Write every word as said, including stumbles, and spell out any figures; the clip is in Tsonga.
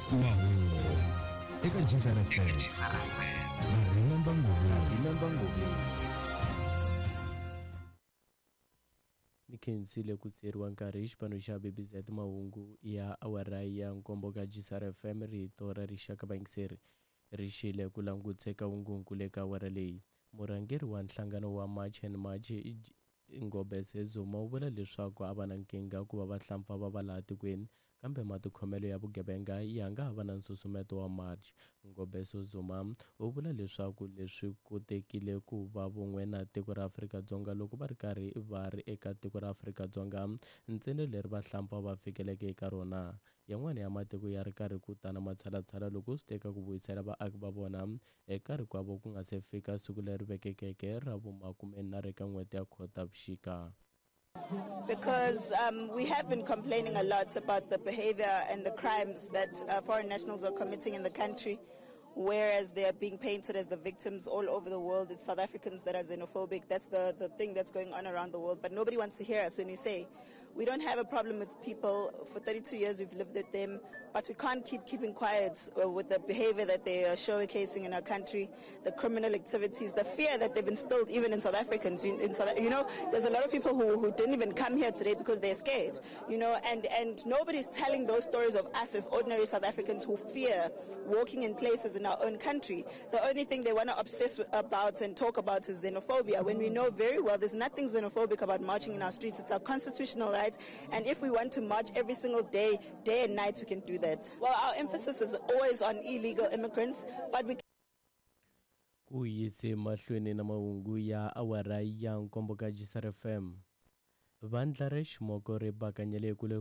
Mahungu eka G S R F M na Remember Ngobeni. Remember Ngobeni. Ni khensile ku tseriwa nkarhi hi xipano xa B B Z. Mahungu ya awara ya nkombo ka G S R F M, rito ra rixaka. Vayingiseri ri xile ku languteka vungungu le ka awara leyi. Murhangeri wa nhlangano wa March and March, Ngobese Zuma, u vula leswaku a va na nkingha ku va vahlampfa va va laha tikweni, kambe matikhomelo ya vugevenga ya nga ha va na nsusumeto wa march. Ngobese Zuma u vula leswaku leswi kotekile ku va vun'we na tiko ra Afrika-Dzonga loko va ri karhi va ri eka tiko ra Afrika-Dzonga ntsena leri vahlampfa va fikeleke eka rona. Yan'wana ya matiko ya ri karhi ku ta na matshalatshala loko swi teka ku vuyisela vaaki va vona eka rikwavo ku nga se fika siku leri vekekeke ra vumakumenharhu eka n'hweti ya Khotavuxika. Because um, we have been complaining a lot about the behavior and the crimes that uh, foreign nationals are committing in the country, whereas they are being painted as the victims all over the world. It's South Africans that are xenophobic. That's the, the thing that's going on around the world. But nobody wants to hear us when we say we don't have a problem with people. For thirty-two years we've lived with them, but we can't keep keeping quiet uh, with the behavior that they are showcasing in our country, the criminal activities, the fear that they've instilled even in South Africans. In, in South, you know, there's a lot of people who, who didn't even come here today because they're scared, you know, and, and nobody's telling those stories of us as ordinary South Africans who fear walking in places in our own country. The only thing they want to obsess about and talk about is xenophobia, when we know very well there's nothing xenophobic about marching in our streets. It's our constitutional right, and if we want to march every single day, day and night, we can do that. Well, our emphasis is always on illegal immigrants, but we Ku yise mahlweni na mahungu ya awara ya nkombo ka G S R F M, vandla ra ximoko ri bakanyele kule.